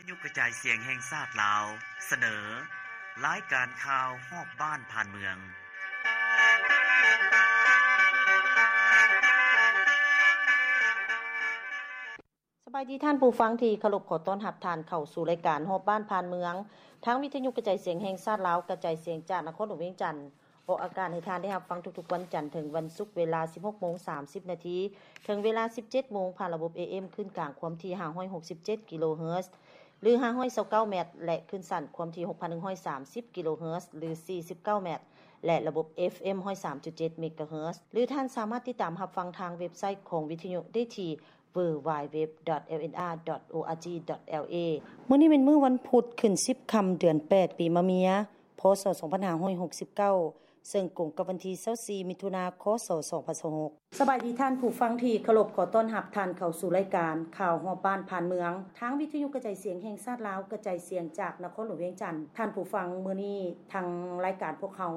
ຍຸກກະຈາຍສຽງແຫ່ງຊາດລາວ ສະເໜີ ລາຍການຂ່າວຮອບບ້ານຜ່ານເມືອງ. ສະບາຍດີທ່ານຜູ້ຟັງທີ່ເຄົາລົບ, ຂໍຕ້ອນຮັບທ່ານເຂົ້າສູ່ລາຍການຮອບບ້ານຜ່ານເມືອງ ທາງວິທະຍຸກະຈາຍສຽງແຫ່ງຊາດລາວ ກະຈາຍສຽງຈາກນະຄອນຫຼວງວຽງຈັນ. ອອກອາກາດໃຫ້ທ່ານໄດ້ຮັບຟັງທຸກໆວັນຈັນເຖິງວັນສຸກ ເວລາສິບຫົກໂມງສາມສິບນາທີ ເຖິງເວລາສິບເຈັດໂມງ ຜ່ານລະບົບ ເອເອັມ ຄື້ນກາງຄວາມຖີ່ຫ້າຮ້ອຍຫົກສິບເຈັດກິໂລເຮີດ ຫຼື ຫ້າຮ້ອຍຊາວເກົ້າແມັດ ແລະ ຄື້ນສັ້ນຄວາມຖີ່ຫົກພັນໜຶ່ງຮ້ອຍສາມສິບກິໂລເຮີດ ຫຼື ສີ່ສິບເກົ້າແມັດ ແລະ ລະບົບ ເອຟເອັມ ຮ້ອຍສາມຈຸດເຈັດເມກາເຮີດ ຫຼື ທ່ານສາມາດຕິດຕາມຮັບຟັງທາງເວັບໄຊຂອງວິທະຍຸໄດ້ທີ່ ดัບເບິນຢູ ດັບເບິນຢູ ດັບເບິນຢູ ດອດ ແອລເອັນອາ ດອດ ໂອອາຈີ ດອດ ແອລເອ. ມື້ນີ້ແມ່ນມື້ວັນພຸດ ຂຶ້ນສິບຄ່ຳ ເດືອນແປດ ປີມະເມຍ ພ.ສ. ສອງພັນຫ້າຮ້ອຍຫົກສິບເກົ້າ ເຊິ່ງກົງກັບວັນທີຊາວສີ່ ມິຖຸນາ ຄ.ສ. ສອງພັນຊາວຫົກ. ສະບາຍດີທ່ານຜູ້ຟັງທີ່ເຄົາລົບ, ຂໍຕ້ອນຮັບທ່ານເຂົ້າສູ່ລາຍການຂ່າວຮອບບ້ານຜ່ານເມືອງ ທາງວິທະຍຸກະຈາຍສຽງແຫ່ງຊາດລາວ ກະຈາຍສຽງຈາກນະຄອນຫຼວງວຽງຈັນ. ທ່ານຜູ້ຟັງ, ມື້ນີ້ທາງລາຍການພວກເຮົາ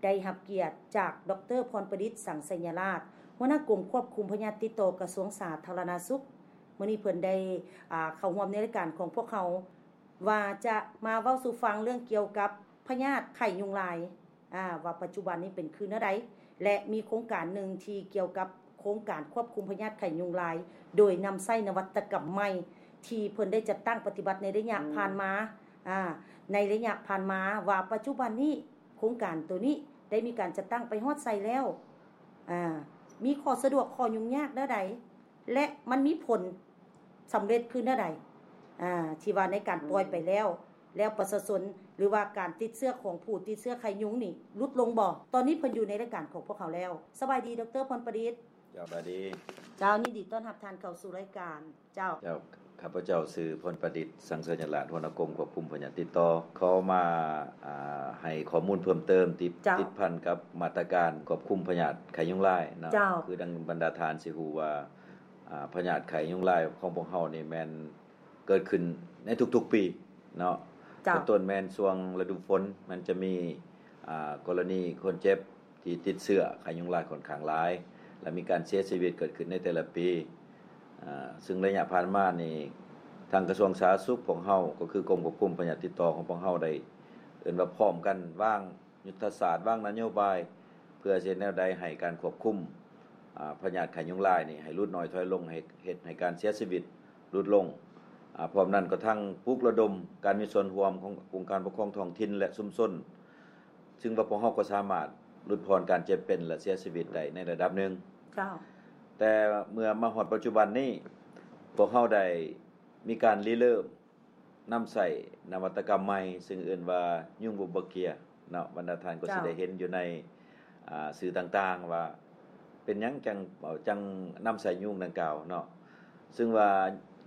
ໄດ້ຮັບກຽດຈາກ ດອກເຕີ ພອນປະດິດ ສັງໄຊຍະລາດ ຫົວໜ້າກົມຄວບຄຸມພະຍາດຕິດຕໍ່ ກະຊວງສາທາລະນະສຸກ. ມື້ນີ້ເພິ່ນໄດ້ ອ່າ ເຂົ້າຮ່ວມໃນລາຍການຂອງພວກເຮົາ ວ່າຈະມາເວົ້າສູ່ຟັງເລື່ອງກ່ຽວກັບພະຍາດໄຂ້ຍຸງລາຍ ອ່າ ວ່າປັດຈຸບັນນີ້ເປັນຄືແນວໃດ ແລະ ມີໂຄງການໜຶ່ງທີ່ກ່ຽວກັບໂຄງການຄວບຄຸມພະຍາດໄຂ້ຍຸງລາຍ ໂດຍນຳໃຊ້ນະວັດຕະກຳໃໝ່ ທີ່ເພິ່ນໄດ້ຈັດຕັ້ງປະຕິບັດໃນໄລຍະ ອືມ ຜ່ານມາ ອ່າ ໃນໄລຍະຜ່ານມາ ວ່າປັດຈຸບັນນີ້ ໂຄງການໂຕນີ້ໄດ້ມີການຈັດຕັ້ງໄປຮອດໃສແລ້ວ ອ່າ ມີຂໍ້ສະດວກ ຂໍ້ຫຍຸ້ງຍາກແນວໃດ ແລະ ມັນມີຜົນສຳເລັດຄືແນວໃດ ອ່າ ທີ່ວ່າໃນການປ່ອຍໄປແລ້ວ ອືມ ແລ້ວປະຊາຊົນ ຫຼືວ່າການຕິດເຊື້ອຂອງຜູ້ຕິດເຊື້ອໄຂ້ຍຸງນີ້ຫຼຸດລົງບໍ່? ຕອນນີ້ເພິ່ນຢູ່ໃນລາຍການຂອງພວກເຮົາແລ້ວ. ສະບາຍດີ ດອກເຕີ ພອນປະດິດ. ເຈົ້າ ສະບາຍດີ. ເຈົ້າ ຍິນດີຕ້ອນຮັບທ່ານເຂົ້າສູ່ລາຍການ. ເຈົ້າ ເຈົ້າ ຂ້າພະເຈົ້າຊື່ ພອນປະດິດ ສັງໄຊຍະລາດ ຫົວໜ້າກົມຄວບຄຸມພະຍາດຕິດຕໍ່ ຂໍມາ ອ່າ ໃຫ້ຂໍ້ມູນເພີ່ມເຕີມ ຕິດ ເຈົ້າ ຕິດພັນກັບມາດຕະການຄວບຄຸມພະຍາດໄຂ້ຍຸງລາຍເນາະ. ເຈົ້າ ຄືດັ່ງບັນດາທ່ານຊິຮູ້ວ່າ ອ່າ ພະຍາດໄຂ້ຍຸງລາຍຂອງພວກເຮົານີ້ແມ່ນເກີດຂຶ້ນໃນທຸກໆປີເນາະ. ເຈົ້າ ເປັນຕົ້ນແມ່ນຊ່ວງລະດູຝົນ ມັນຈະມີ ອ່າ ກໍລະນີຄົນເຈັບ ທີ່ຕິດເຊື້ອໄຂ້ຍຸງລາຍຂ້ອນຂ້າງຫຼາຍ ແລະ ມີການເສຍຊີວິດເກີດຂຶ້ນໃນແຕ່ລະປີ. ເຊິ່ງໄລຍະຜ່ານມານີ້ ທາງກະຊວງສາທາລະນະສຸກພວກເຮົາ ກໍຄືກົມຄວບຄຸມພະຍາດຕິດຕໍ່ຂອງພວກເຮົາ ໄດ້ເອີ້ນວ່າພ້ອມກັນວາງຍຸດທະສາດ, ວາງນະໂຍບາຍ ເພື່ອຊິເຮັດແນວໃດໃຫ້ການຄວບຄຸມ ອາ ພະຍາດໄຂ້ຍຸງລາຍນີ້ໃຫ້ຫຼຸດນ້ອຍຖອຍລົງ, ໃຫ້ເຮັດໃຫ້ການເສຍຊີວິດຫຼຸດລົງ. ອາ ພ້ອມນັ້ນກໍທັງປຸກລະດົມການມີສ່ວນຮ່ວມຂອງອົງການປົກຄອງທ້ອງຖິ່ນ ແລະ ຊຸມຊົນ ຊຶ່ງວ່າພວກເຮົາກໍສາມາດຫຼຸດຜ່ອນການເຈັບເປັນ ແລະ ເສຍຊີວິດໄດ້ໃນລະດັບໜຶ່ງ. ເຈົ້າ. ແຕ່ເມື່ອມາຮອດປັດຈຸບັນນີ້ ພວກເຮົາໄດ້ມີການລິເລີ່ມນຳໃຊ້ນະວັດຕະກຳໃໝ່ ຊຶ່ງເອີ້ນວ່າຍຸງໂບບາເກຍເນາະ. ບັນດາທ່ານກໍຊິ ເຈົ້າ ໄດ້ເຫັນຢູ່ໃນ ອ່າ ສື່ຕ່າງໆວ່າ ເປັນຫຍັງຈັ່ງ ເອີ່ ຈັ່ງນຳໃຊ້ຍຸງດັ່ງກ່າວເນາະ. ຊຶ່ງວ່າ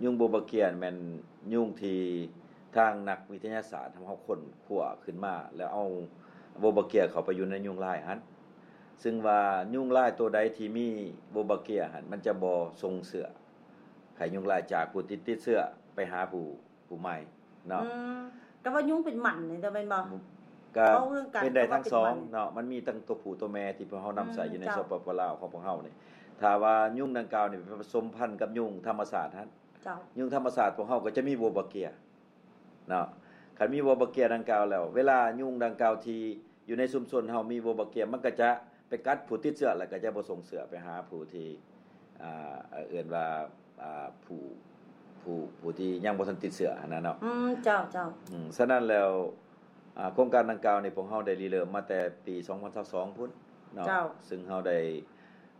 ຍຸງໂບບາເກຍແມ່ນຍຸງທີ່ທາງນັກວິທະຍາສາດເຮົາຄົ້ນຄວ້າຂຶ້ນມາ ແລ້ວເອົາໂບບາເກຍເຂົ້າໄປຢູ່ໃນຍຸງລາຍຫັ້ນ. ຊຶ່ງວ່າຍຸງລາຍໂຕໃດທີ່ມີໂບບາເກຍຫັ້ນ ມັນຈະບໍ່ສົ່ງເຊື້ອໄຂ້ຍຸງລາຍຈາກຜູ້ທີ່ຕິດເຊື້ອໄປຫາຜູ້ ຜູ້ໃໝ່ເນາະ. ອືມ ແຕ່ວ່າຍຸງເປັນໝັນນີ້ແມ່ນບໍ່? ກໍເວົ້າເລື່ອງການ ເປັນໄດ້ທັງສອງເນາະ. ມັນມີທັງຕົວຜູ້ຕົວແມ່ທີ່ພວກເຮົານຳໃຊ້ ອືມ ຢູ່ໃນ ເຈົ້າ ສປປ ລາວຂອງພວກເຮົານີ້. ຖ້າວ່າຍຸງດັ່ງກ່າວນີ້ໄປປະສົມພັນກັບຍຸງທຳມະຊາດຫັ້ນ ເຈົ້າ ຍຸງທຳມະຊາດພວກເຮົາກໍຈະມີໂບບາເກຍເນາະ. ຄັນມີໂບບາເກຍດັ່ງກ່າວແລ້ວ ເວລາຍຸງດັ່ງກ່າວທີ່ ຢູ່ໃນຊຸມຊົນເຮົາມີໂບບາເກຍ ມັນກໍຈະໄປກັດຜູ້ຕິດເຊື້ອ ແລ້ວກໍຈະບໍ່ສົ່ງເຊື້ອໄປຫາຜູ້ທີ່ ອ່າ ເອີ້ນວ່າ ອ່າ ຜູ້ ຜູ້ ຜູ້ທີ່ຍັງບໍ່ທັນຕິດເຊື້ອຫັ້ນນະເນາະ. ອືມ ເຈົ້າ ເຈົ້າ. ອືມ ສະນັ້ນແລ້ວ ອ່າ ໂຄງການດັ່ງກ່າວນີ້ ພວກເຮົາໄດ້ລິເລີ່ມມາແຕ່ປີສອງພັນຊາວສອງພຸ້ນເນາະ. ເຈົ້າ. ຊຶ່ງເຮົາໄດ້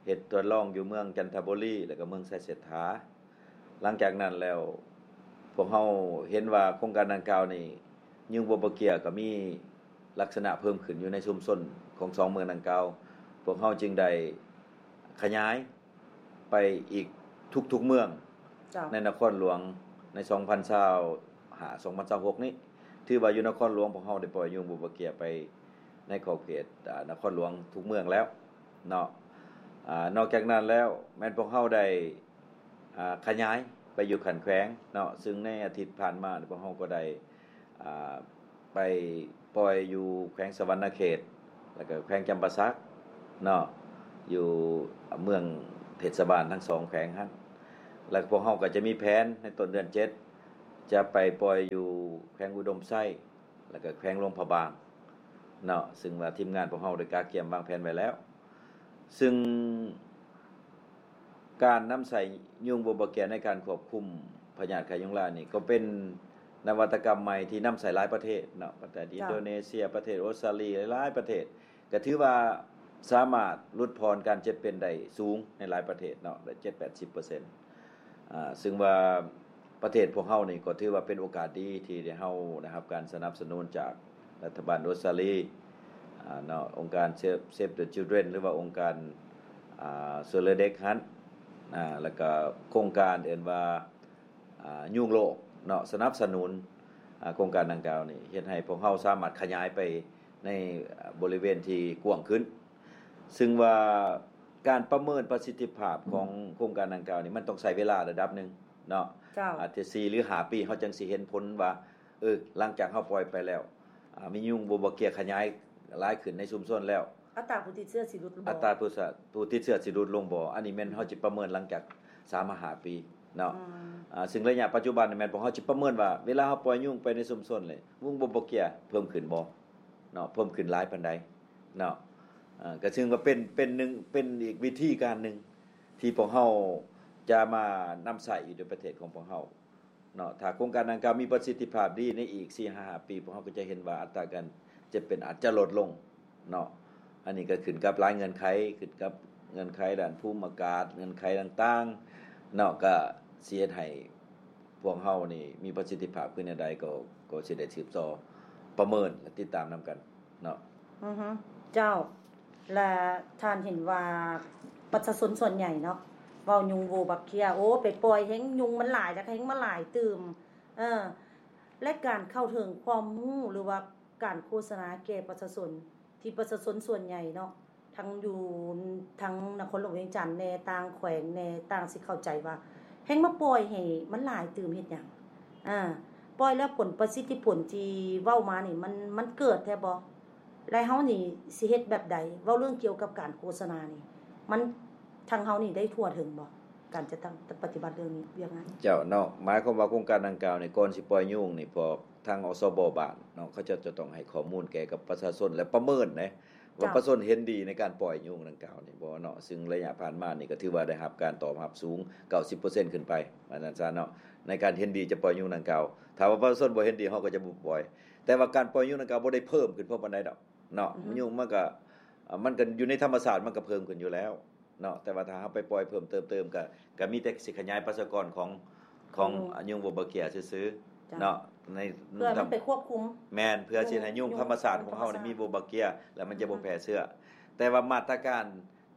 ເຮັດທົດລອງຢູ່ເມືອງຈັນທະບູລີ ແລ້ວກໍເມືອງໄຊເສດຖາ. ຫຼັງຈາກນັ້ນແລ້ວ ພວກເຮົາເຫັນວ່າໂຄງການດັ່ງກ່າວນີ້ ຍຸງໂບບາເກຍກໍມີລັກສະນະເພີ່ມຂຶ້ນຢູ່ໃນຊຸມຊົນຂອງສອງເມືອງດັ່ງກ່າວ. ພວກເຮົາຈຶ່ງໄດ້ຂະຫຍາຍໄປອີກທຸກໆເມືອງ ເຈົ້າ ໃນນະຄອນຫຼວງໃນສອງພັນຊາວຫ້າ ສອງພັນຊາວຫົກນີ້ ຖືວ່າຢູ່ນະຄອນຫຼວງພວກເຮົາໄດ້ປ່ອຍຍຸງໂບບາເກຍໄປໃນຂອບເຂດ ອາ ນະຄອນຫຼວງທຸກເມືອງແລ້ວເນາະ. ອາ ນອກຈາກນັ້ນແລ້ວ ແມ່ນພວກເຮົາໄດ້ ອ່າ ຂະຫຍາຍໄປຢູ່ຂັ້ນແຂວງເນາະ. ຊຶ່ງໃນອາທິດຜ່ານມາ ພວກເຮົາກໍໄດ້ ອ່າ ໄປປ່ອຍຢູ່ແຂວງສະຫວັນນະເຂດ ແລ້ວກໍແຂວງຈຳປາສັກເນາະ ຢູ່ເມືອງເທດສະບານທັງສອງແຂວງຫັ້ນ. ແລ້ວພວກເຮົາກໍຈະມີແຜນໃນຕົ້ນເດືອນເຈັດ ຈະໄປປ່ອຍຢູ່ແຂວງອຸດົມໄຊ ແລ້ວກໍແຂວງຫຼວງພະບາງເນາະ ຊຶ່ງວ່າທີມງານພວກເຮົາໄດ້ກະກຽມວາງແຜນໄວ້ແລ້ວ ຊຶ່ງການນຳໃຊ້ຍຸງບົວບາເກຍໃນການຄວບຄຸມພະຍາດໄຂ້ຍຸງລາຍນີ້ ກໍເປັນນະວັດຕະກຳໃໝ່ທີ່ນຳໃຊ້ຫຼາຍປະເທດເນາະ ປະເທດອິນໂດເນເຊຍ ປະເທດອົດສະຕາລີ ຫຼາຍໆປະເທດ ກໍຖືວ່າສາມາດຫຼຸດຜ່ອນການເຈັບເປັນໄດ້ສູງໃນຫຼາຍປະເທດເນາະ ໄດ້ເຈັດແປດສິບເປີເຊັນ ອ່າ ຊຶ່ງວ່າປະເທດພວກເຮົານີ້ກໍຖືວ່າເປັນໂອກາດດີທີ່ໄດ້ ເຮົາໄດ້ຮັບການສະໜັບສະໜູນຈາກລັດຖະບານອົດສະຕາລີ ອ່າ ເນາະ ອົງການ Save the Children ຫຼືວ່າອົງການ ອ່າ ຊ່ວຍເຫຼືອເດັກຫັ້ນ ອ່າ ແລ້ວກໍໂຄງການເອີ້ນວ່າ ອ່າ ຍຸງໂລກເນາະ ສະໜັບສະໜູນ ອ່າ ໂຄງການດັ່ງກ່າວນີ້ ເຮັດໃຫ້ພວກເຮົາສາມາດຂະຫຍາຍໄປໃນ ອ່າ ບໍລິເວນທີ່ກວ້າງຂຶ້ນ ຊຶ່ງວ່າການປະເມີນປະສິດທິພາບຂອງໂຄງການດັ່ງກ່າວນີ້ ມັນຕ້ອງໃຊ້ເວລາລະດັບໜຶ່ງເນາະ ເຈົ້າ ອາດຈະສີ່ ຫຼື ຫ້າປີ ເຮົາຈັ່ງຊິເຫັນຜົນວ່າ ເອີ ຫຼັງຈາກເຮົາປ່ອຍໄປແລ້ວ ອ່າ ມີຍຸງບົວບາເກຍຂະຫຍາຍຫຼາຍຂຶ້ນໃນຊຸມຊົນແລ້ວ ອັດຕາຜູ້ຕິດເຊື້ອຊິຫຼຸດລົງບໍ່? ອັດຕາຜູ້ສະ ຜູ້ຕິດເຊື້ອຊິຫຼຸດລົງບໍ່? ອັນນີ້ແມ່ນເຮົາຊິປະເມີນຫຼັງຈາກສາມມາຫ້າປີເນາະ ອືມ ອ່າ ຊຶ່ງໄລຍະປັດຈຸບັນນີ້ແມ່ນພວກເຮົາຊິປະເມີນວ່າ ເວລາເຮົາປ່ອຍຍຸງໄປໃນຊຸມຊົນເລີຍ ຍຸງບົວບາເກຍເພີ່ມຂຶ້ນບໍ່ເນາະ ເພີ່ມຂຶ້ນຫຼາຍປານໃດເນາະ ເອີ ກໍເຊິ່ງວ່າເປັນ ເປັນໜຶ່ງ ເປັນອີກວິທີການໜຶ່ງທີ່ພວກເຮົາຈະມານຳໃຊ້ຢູ່ໃນປະເທດຂອງພວກເຮົາ ເນາະ ຖ້າໂຄງການດັ່ງກ່າວມີປະສິດທິພາບດີ ໃນອີກສີ່ຫ້າປີ ພວກເຮົາກໍຈະເຫັນວ່າອັດຕາການເຈັບເປັນອາດຈະລົດລົງເນາະ ອັນນີ້ກໍຂຶ້ນກັບຫຼາຍເງື່ອນໄຂ ຂຶ້ນກັບເງື່ອນໄຂດ້ານພູມອາກາດ ເງື່ອນໄຂຕ່າງໆເນາະ ກໍຊິເຮັດໃຫ້ພວກເຮົານີ້ມີປະສິດທິພາບຄືແນວໃດ ກໍ ກໍຊິໄດ້ສືບຕໍ່ປະເມີນ ແລະ ຕິດຕາມນຳກັນເນາະ. ອືຮຶ ເຈົ້າ ແລະ ທ່ານເຫັນວ່າປະຊາຊົນສ່ວນໃຫຍ່ເນາະ ເວົ້າຍຸງໂວບັກເຄຍ ໂອ້ ໄປປ່ອຍແຮງຍຸງມັນຫຼາຍ ແລ້ວກໍແຮງມາຫຼາຍຕື່ມ ເອີ ແລະ ການເຂົ້າເຖິງຄວາມຮູ້ ຫຼືວ່າການໂຄສະນາແກ່ປະຊາຊົນ ທີ່ປະຊາຊົນສ່ວນໃຫຍ່ເນາະ ທັງຢູ່ ທັງນະຄອນຫຼວງວຽງຈັນແດ່ ຕ່າງແຂວງແດ່ ຕ່າງຊິເຂົ້າໃຈວ່າ ແຮງມາປ່ອຍໃຫ້ມັນຫຼາຍຕື່ມເຮັດຫຍັງ? ອາ ປ່ອຍແລ້ວຜົນປະສິດທິຜົນທີ່ເວົ້າມານີ້ ມັນ ມັນເກີດແທ້ບໍ່? ແລະ ເຮົານີ້ຊິເຮັດແບບໃດ? ເວົ້າເລື່ອງກ່ຽວກັບການໂຄສະນານີ້ ມັນ ທາງເຮົານີ້ໄດ້ທົ່ວເຖິງບໍ່? ການຈັດຕັ້ງປະຕິບັດເລື່ອງນີ້ ວຽກງານ ເຈົ້າເນາະ ໝາຍຄວາມວ່າໂຄງການດັ່ງກ່າວນີ້ ກ່ອນຊິປ່ອຍຍຸງນີ້ ພວກທາງ ອສບ ບ້ານເນາະ ເຂົາເຈົ້າຈະຕ້ອງໃຫ້ຂໍ້ມູນແກ່ກັບປະຊາຊົນ ແລະ ປະເມີນເດ້ ວ່າ ເຈົ້າ ປະຊາຊົນເຫັນດີໃນການປ່ອຍຍຸງດັ່ງກ່າວນີ້ບໍ່ເນາະ ຊຶ່ງໄລຍະຜ່ານມານີ້ກໍຖືວ່າໄດ້ຮັບການຕອບຮັບສູງ ເກົ້າສິບເປີເຊັນຂຶ້ນໄປ ວ່າຊັ້ນຊະເນາະ ໃນການເຫັນດີຈະປ່ອຍຍຸງດັ່ງກ່າວ ຖ້າວ່າປະຊາຊົນບໍ່ເຫັນດີ ເຮົາກໍຈະບໍ່ປ່ອຍ ແຕ່ວ່າການປ່ອຍຍຸງດັ່ງກ່າວບໍ່ໄດ້ເພີ່ມຂຶ້ນພໍປານໃດດອກເນາະ ອືຮຶ ຍຸງມັນກໍ ມັນກໍຢູ່ໃນທຳມະຊາດ ມັນກໍເພີ່ມຂຶ້ນຢູ່ແລ້ວເນາະ ແຕ່ວ່າຖ້າເຮົາໄປປ່ອຍເພີ່ມເຕີມ ກໍ ກໍມີແຕ່ຊິຂະຫຍາຍປະຊາກອນຂອງ ຂອງ ອືມ ຍຸງໂວບັກເຄຍຊື່ໆ ເຈົ້າ ເນາະ ໃນ ເພື່ອມັນໄປຄວບຄຸມ ແມ່ນ ເພື່ອຊິໃຫ້ຍຸງ ຍຸງ ທຳມະຊາດຂອງເຮົານີ້ ທຳມະຊາດ ມີໂວບັກເຄຍ ແລ້ວມັນຈະບໍ່ ອືມ ແຜ່ເຊື້ອ ແຕ່ວ່າມາດຕະການ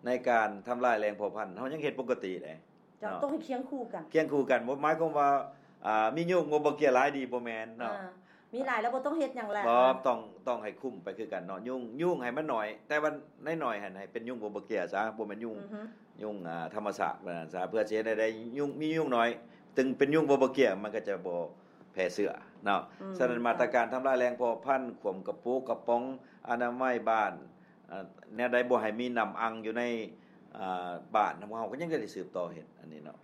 ໃນການທຳລາຍແຫຼ່ງເຜົ່າພັນ ເຮົາຍັງເຮັດປົກກະຕິເດ້ ເຈົ້າ ເນາະ ຕ້ອງໃຫ້ຄຽງຄູ່ກັນ ຄຽງຄູ່ກັນ ບໍ່ໝາຍຄວາມວ່າ ອ່າ ມີຍຸງໂວບັກເຄຍຫຼາຍດີ ບໍ່ແມ່ນເນາະ ອ່າ ມີຫຼາຍແລ້ວບໍ່ຕ້ອງເຮັດຫຍັງແລ້ວ ບໍ່ ຕ້ອງ ຕ້ອງໃຫ້ຄຸມໄປຄືກັນເນາະ ຍຸງ ຍຸງໃຫ້ມັນໜ້ອຍ ແຕ່ວ່າໃນໜ້ອຍຫັ້ນໃຫ້ເປັນຍຸງໂວບັກເຄຍຊະ ບໍ່ແມ່ນຍຸງ ອືຮຶ ຍຸງ ອ່າ ທຳມະຊາດວ່າຊັ້ນຊະ ເພື່ອຊິເຮັດໃຫ້ໄດ້ຍຸງ ມີຍຸງໜ້ອຍ ເຖິງເປັນຍຸງໂວບັກເຄຍ ມັນກໍຈະບໍ່ແຜ່ເຊື້ອເນາະ ອືມ ສະນັ້ນ ເຈົ້າ ມາດຕະການທຳລາຍແຫຼ່ງເຜົ່າພັນ ຄວາມກະປູກະປ໋ອງ ອະນາໄມບ້ານ ອ່າ ແນວໃດບໍ່ໃຫ້ມີນ້ຳອັ່ງຢູ່ໃນ ອ່າ ບ້ານ ພວກເຮົາກໍຍັງຈະໄດ້ສືບຕໍ່ເຮັດອັນນີ້ເນາະ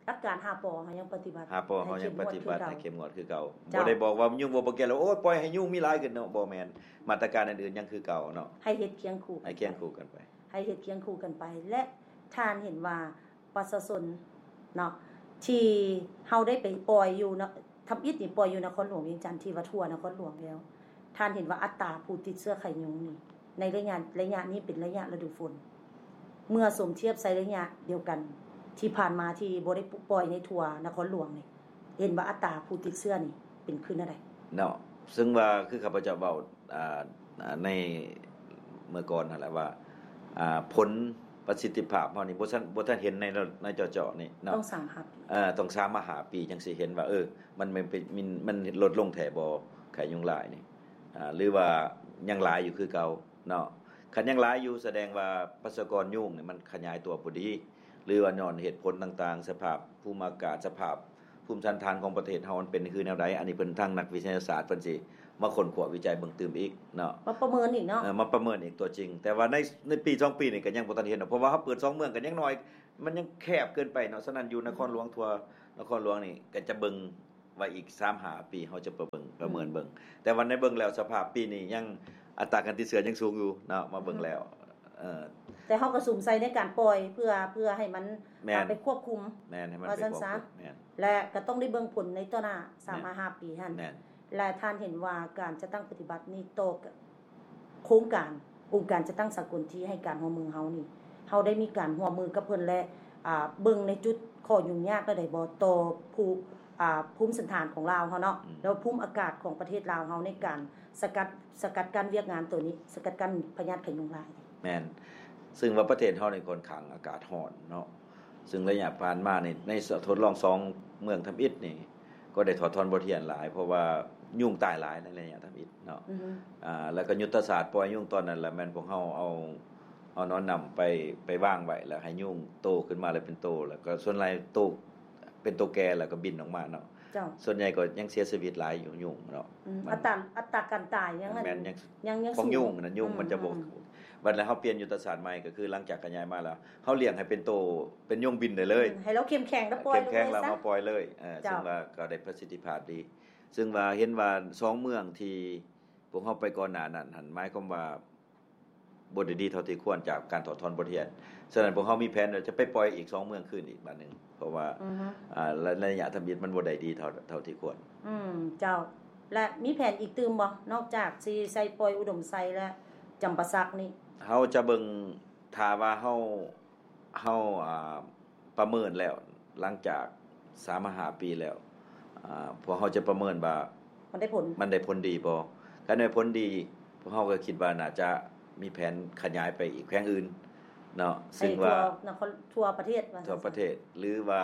ຫຼັກການຫ້າ ປ ເຮົາຍັງປະຕິບັດ ຫ້າ ປ ເຮົາຍັງປະຕິບັດໃຫ້ເຂັ້ມງວດຄືເກົ່າ ໃຫ້ເຂັ້ມງວດຄືເກົ່າ ເຈົ້າ ບໍ່ໄດ້ບອກວ່າຍຸງບໍ່ ບໍ່ແກ່ແລ້ວ ໂອ້ຍ ປ່ອຍໃຫ້ຍຸງມີຫຼາຍຂຶ້ນເນາະ ບໍ່ແມ່ນ ມາດຕະການອື່ນໆຍັງຄືເກົ່າເນາະ ໃຫ້ເຮັດຄຽງຄູ່ກັນ ໃຫ້ຄຽງຄູ່ກັນໄປ ໃຫ້ເຮັດຄຽງຄູ່ກັນໄປ ແລະ ທ່ານເຫັນວ່າ ປະຊາຊົນເນາະ ທີ່ເຮົາໄດ້ໄປປ່ອຍຢູ່ເນາະ ທຳອິດນີ້ປ່ອຍຢູ່ນະຄອນຫຼວງວຽງຈັນ ທີ່ວ່າທົ່ວນະຄອນຫຼວງແລ້ວ ທ່ານເຫັນວ່າອັດຕາຜູ້ຕິດເຊື້ອໄຂ້ຍຸງນີ້ ໃນໄລຍະ ໄລຍະນີ້ເປັນໄລຍະລະດູຝົນ ເມື່ອສົມທຽບໃສ່ໄລຍະດຽວກັນທີ່ຜ່ານມາ ທີ່ບໍ່ໄດ້ ປ- ປ່ອຍໃນທົ່ວນະຄອນຫຼວງນີ້ ເຫັນວ່າອັດຕາຜູ້ຕິດເຊື້ອນີ້ເປັນຂຶ້ນແນວໃດ? ເນາະ ເຊິ່ງວ່າຄືຂ້າພະເຈົ້າເວົ້າ ອ່າ ໃນເມື່ອກ່ອນຫັ້ນແຫຼະວ່າ ອ່າ ຜົນປະສິດທິພາບເຮົານີ້ບໍ່ທັນ ບໍ່ທັນເຫັນໃນ ໃນເຈາະໆນີ້ເນາະ ຕ້ອງສາມມາຫ້າປີ ເອີ ຕ້ອງສາມມາຫ້າປີຈັ່ງຊິເຫັນວ່າ ເອີ ມັນ ມັນ ມັນ ມັນລົດລົງແທ້ບໍ່ ໄຂ້ຍຸງລາຍນີ້ ອ່າ ຫຼືວ່າຍັງຫຼາຍຢູ່ຄືເກົ່າເນາະ ຄັນຍັງຫຼາຍຢູ່ ສະແດງວ່າປະຊາກອນຍຸງນີ້ມັນຂະຫຍາຍຕົວບໍ່ດີ ຫຼືວ່າຍ້ອນເຫດຜົນຕ່າງໆ ສະພາບພູມອາກາດ ສະພາບ ພູມສັນຖານຂອງປະເທດເຮົາມັນເປັນຄືແນວໃດ ອັນນີ້ເພິ່ນ ທາງນັກວິທະຍາສາດເພິ່ນຊິມາຄົ້ນຄວ້າວິໄຈເບິ່ງຕື່ມອີກເນາະ ມາປະເມີນອີກເນາະ ເອີ ມາປະເມີນອີກຕົວຈິງ ແຕ່ວ່າໃນ ໃນປີສອງປີນີ້ກໍຍັງບໍ່ທັນເຫັນດອກ ເພາະວ່າເຮົາເປີດສອງເມືອງກໍຍັງໜ້ອຍ ມັນຍັງແຄບເກີນໄປເນາະ ສະນັ້ນຢູ່ນະຄອນຫຼວງ ອືມ ທົ່ວນະຄອນຫຼວງນີ້ກໍຈະເບິ່ງ ວ່າອີກສາມຫ້າປີເຮົາຈະປະເມີນ ປະເມີນເບິ່ງ ແຕ່ວ່າໃນເບິ່ງແລ້ວສະພາບປີນີ້ຍັງອັດຕາການຕິດເຊື້ອຍັງສູງຢູ່ເນາະ ມາເບິ່ງແລ້ວ ເອີ ແຕ່ເຮົາກໍສຸມໃສ່ໃນການປ່ອຍ ເພື່ອ ເພື່ອໃຫ້ມັນ ແມ່ນ ໄປຄວບຄຸມ ແມ່ນ ໃຫ້ມັນ ວ່າຊັ້ນຊະ ແມ່ນ ແລະກໍຕ້ອງໄດ້ເບິ່ງຜົນໃນຕໍ່ໜ້າ ແມ່ນ ສາມຫາຫ້າປີຫັ້ນ ແມ່ນ ແລະທ່ານເຫັນວ່າການຈັດຕັ້ງປະຕິບັດນີ້ຕໍ່ ໂຄງການອົງການຈັດຕັ້ງສາກົນທີ່ໃຫ້ການຮ່ວມມືເຮົານີ້ ເຮົາໄດ້ມີການຮ່ວມມືກັບເພິ່ນ ແລະ ອ່າ ເບິ່ງໃນຈຸດຂໍ້ຫຍຸ້ງຍາກແນວໃດບໍ່ ຕໍ່ພູ ອ່າ ພູມສັນຖານຂອງລາວເຮົາເນາະ ແລ້ວພູມອາກາດຂອງປະເທດລາວເຮົາໃນການສະກັດ ສະກັດກັ້ນວຽກງານໂຕນີ້ ສະກັດກັ້ນພະຍາດໄຂ້ຍຸງລາຍ? ແມ່ນ ຊຶ່ງວ່າປະເທດເຮົານີ້ຂ້ອນຂ້າງອາກາດຮ້ອນເນາະ ຊຶ່ງໄລຍະຜ່ານມານີ້ ໃນທົດລອງສອງເມືອງທຳອິດນີ້ ກໍໄດ້ຖອດຖອນບົດຮຽນຫຼາຍ ເພາະວ່າຍຸງຕາຍຫຼາຍໃນໄລຍະທຳອິດເນາະ ອ່າ ແລ້ວກໍຍຸດທະສາດປ່ອຍຍຸງຕອນນັ້ນລະ ແມ່ນພວກເຮົາເອົາ ເອົາໜອນນ້ຳໄປ ໄປວາງໄວ້ ແລ້ວໃຫ້ຍຸງໂຕຂຶ້ນມາ ແລ້ວເປັນໂຕ ແລ້ວກໍສ່ວນຫຼາຍໂຕ ເປັນໂຕແກ່ ແລ້ວກໍບິນອອກມາເນາະ ເຈົ້າ ສ່ວນໃຫຍ່ກໍຍັງເສຍຊີວິດຫຼາຍຢູ່ ຍຸງເນາະ ອືມ ອັດຕາ ອັດຕາການຕາຍຍັງ ແມ່ນ ຍັງ ຍັງ ຍັງຂອງຍຸງນັ້ນ ຍຸງມັນຈະບໍ່ ບັດແລ້ວເຮົາປ່ຽນຍຸດທະສາດໃໝ່ ກໍຄືຫຼັງຈາກຂະຫຍາຍມາແລ້ວ ເຮົາລ້ຽງໃຫ້ເປັນໂຕ ເປັນຍຸງບິນໄດ້ເລີຍ ອືມ ໃຫ້ລາວເຂັ້ມແຂງແລ້ວປ່ອຍ ເຂັ້ມແຂງແລ້ວເຮົາປ່ອຍເລີຍ ເອີ ເຈົ້າ ຊຶ່ງວ່າກໍໄດ້ປະສິດທິພາບດີ ຊຶ່ງວ່າເຫັນວ່າສອງເມືອງທີ່ພວກເຮົາໄປກ່ອນໜ້ານັ້ນຫັ້ນ ໝາຍຄວາມວ່າບໍ່ໄດ້ດີເທົ່າທີ່ຄວນຈາກການຖອດຖອນບົດຮຽນ ສະນັ້ນພວກເຮົາມີແຜນວ່າຈະໄປປ່ອຍອີກສອງເມືອງຄືນອີກບາດໜຶ່ງ ເພາະວ່າ ອ່າ ໄລຍະທຳອິດມັນບໍ່ໄດ້ດີເທົ່າ ເທົ່າທີ່ຄວນ ອືມ ເຈົ້າ ແລະມີແຜນອີກຕື່ມບໍ່ ນອກຈາກຊິໃສ່ປ່ອຍອຸດົມໄຊ ແລະ ຈຳປາສັກນີ້? ເຮົາຈະເບິ່ງ ຖ້າວ່າເຮົາ ເຮົາ ອ່າ ປະເມີນແລ້ວ ຫຼັງຈາກສາມຫາຫ້າປີແລ້ວ ອ່າ ພວກເຮົາຈະປະເມີນວ່າມັນໄດ້ຜົນ ມັນໄດ້ຜົນດີບໍ່? ຄັນໄດ້ຜົນດີ ພວກເຮົາກໍຄິດວ່າໜ້າຈະມີແຜນຂະຫຍາຍໄປອີກແຂວງອື່ນເນາະ ຊຶ່ງວ່າ ໃຫ້ທົ່ວນະຄອນ ທົ່ວປະເທດ ວ່າຊັ້ນ ທົ່ວປະເທດ ຫຼືວ່າ